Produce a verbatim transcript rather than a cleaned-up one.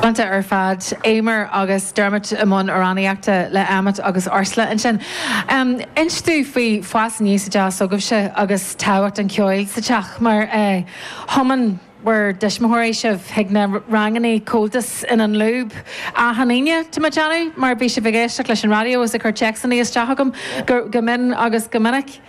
Galánta ar fad Éimear agus Dermot i mbun amhránaíochta le Emmet agus Ursula ansin. Um, Inis dúinn faoi fás aníos sa teach s'agaibhse agus tábhacht an cheoil sa teach mar eh, thiomáin bhur dtuismitheoirí sibh chuig na ranganna Comhaltas in An Lúb achan Aoine tá mé ag déanamh mar bhí sibh ag éisteacht leis an raidió is ag cur téacsanna isteach agam go go mion agus go minic.